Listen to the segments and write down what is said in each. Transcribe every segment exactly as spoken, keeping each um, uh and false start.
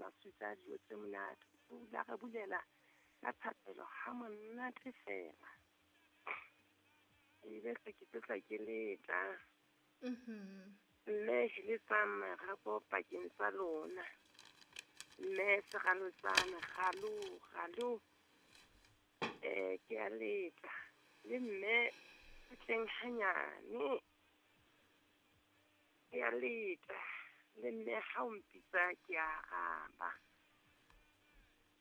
masutsa dijo tse monate. O la re bulela ka thapelo ha monate fela. Ebe se ke tla ke leta. Mhm. Mme le tsa marapo pakeng tsa lona. Mme segalotsana galo galo. Eh ke a leta. Le mme tleng hanyane. Ke a leta. Le mme ha o mpitsa ke a araba.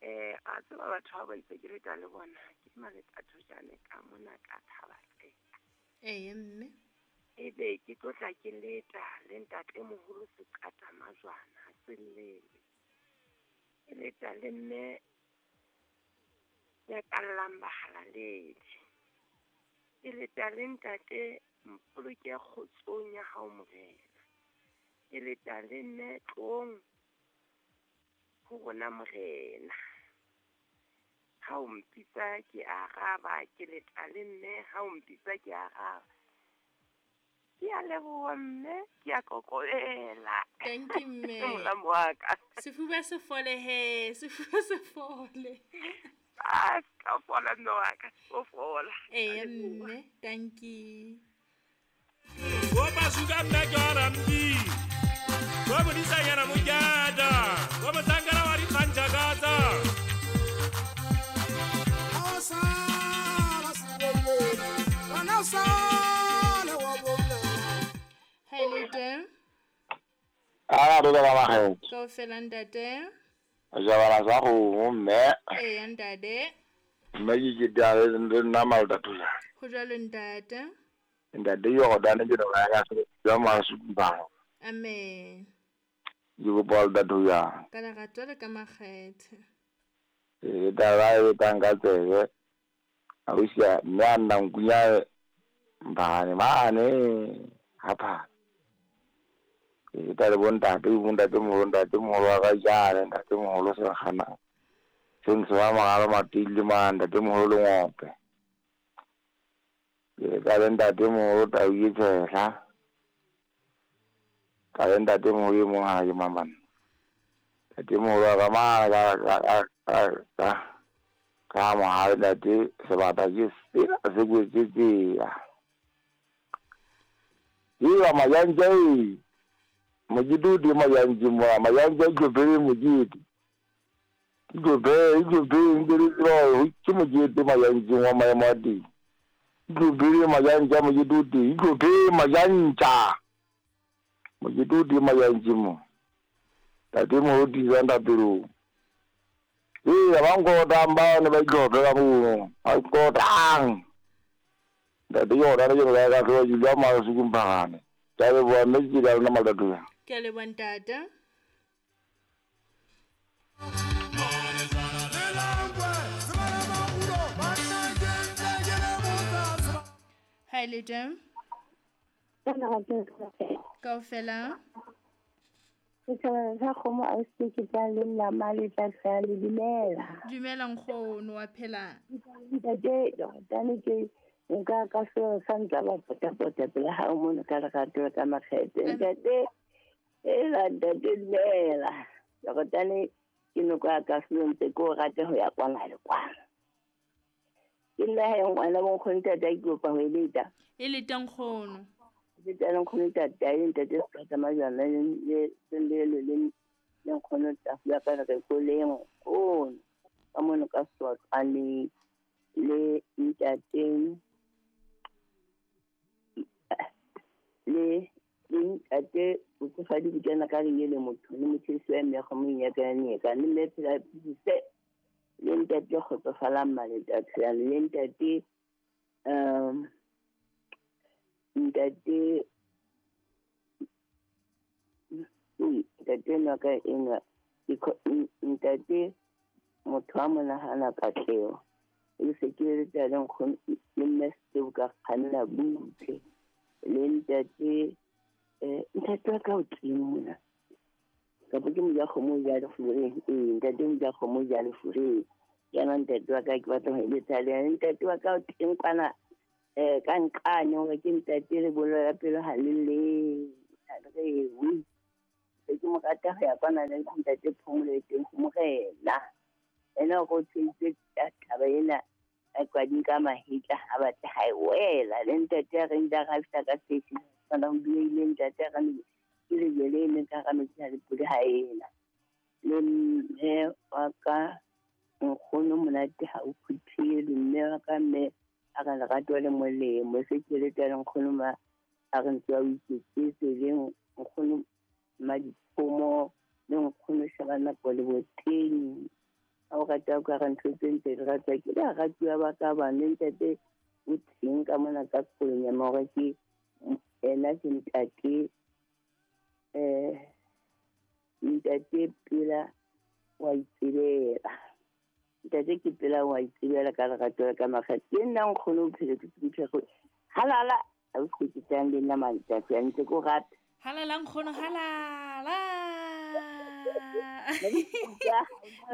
Eh a tseba batho ba ba itse ke leta le bona ke maleta thojane ka mona ka thaba tle. Ee mme. Ebe ke tlotla ke leta le ntate moholo seqata majwana selele. Ke leta le mme ya kallang bahalaledi. Ke leta le ntate mpoloke kgotsong ya hao morena. Ke leta le mme tlong ho rona morena. Ha o mpitsa ke araba, ke leta le mme ha o mpitsa ke araba. Ke a leboha mme, ke a kokobela. Thank you mme. Molamu wa ka. Sefuba se fole he, sefuba se fole. Ah, ka fola mme wa ka, o fola. Ee mme, thank you. Go basuka mme ke ora mbi. Go modisanyana mojada. Go motsangana wa dikgantja katsa. Hi lete. Ah, re ba ba Ka ofela ntate. Ja ba sa go mme. Ee ntate. Mme ke ke da le nna malta tula. Ho jwalo ntate. Ntate yo go dane ke ba ya se ya masupa. Amen. Ke go bol da ya. Ka lerato le ka makgethe. E da ba e tanga tsebe. A o sia mme a nna nkunya mbane mane hapa. E tla le bontate bontate moholo ntate moholo wa ka jane ntate moholo se gana. Sentse wa magalo matile ma ntate moholo le ngope. E tla le ntate moholo tau e tshehla. Ka le ntate moholo e mong ha ke mamana. Ntate moholo wa ka ma ka ka ka ka mohale ntate sebata ke sena se kwetse tsela. Iwa mayanja e mojidi mayanja mo mayanja ke bere mojidi. Ke bere ke bere ngere tswa ke mojidi mayanja wa maemadi. Ke bere mayanja mojidi ke bere mayanja. Mojidi mayanja mo. Tate mo di zanda pelo. Ee ba nkota mba ne ba itlhophela mo. A nkotang. Ntate yo rata ke ba ka tloa jwa masuku mphagane. Ke a leboha mme ke ka lona malata. Ke a leboha ntate. Hi lete. Kaofela. Ke kgomo a se ke tla le nna mali tla le dumela. Dumela nkgono wa phela. Ntate tane ke nka ka se sa ntla ba pota pota pele ha o mona ka lerato ka makgethe. Ntate ela ntate dumela. Tane ke no ka ka se ntse ko rate ho ya kwana le kwana. Ke nna he ngwana bo nkgono ntate ke kopa ho eleta. E leta nkgono. Ke tla nkgono ntate a ntate se ka majana le le le le le nkgono ntate ya ka re ko le nkgono ka mono ka swa le le ntate le le ntate o tsa di bukana ka le le motho le motho se mme go mo ya ka ne ka le le phela se le ntate go tsofala male ntate le ntate um ntate ntate no ka ena ntate motho a monahana katleo e se ke le tla leng go le mme se ka kganna butle le ntate eh ntate ka o tlimona ka bo ke mo ya go mo ya le fure eh ntate mo ya go mo ya le fure yana ntate wa ka ke batla ho etsa le ntate wa ka o teng kwana eh ka nqane hore ke ntate le bolo ya pelo ha le le re wi Se ke mo rata ho ya kwana le ntate Phomolo e teng ho morena. Ena o go tshwetse taba ena a kwading ka mahetla ha batla ha e wela le ntate a reng da ga fihla ka station kana o buile ntate a reng ke le jele le ka ga metsi a le pule ha ena le mme wa ka nkgono monate ha o phuthele mme wa ka mme a ka lerato le molemo se ke le tla nkgono ma a re ntse a o iketsetse le nkgono madikgomo le nkgono shebana nako le boteng a o rata o ka re ntho tse ntse di ratwa ke baratuwa ba ka bane ntate o teng ka mona ka Kolonyama hore ke ena ke ntate um ntate Pela wa itsebela ntate ke Pela wa itsebela ka lerato la ka makgetho ke nna nkgono o phele ke semphego halala a o se ke tsang le nna mantate a ntse ko rata halala nkgono halala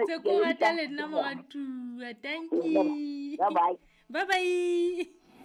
tse ko rata le nna moratuwa. Thank you. Bye bye. Bye bye.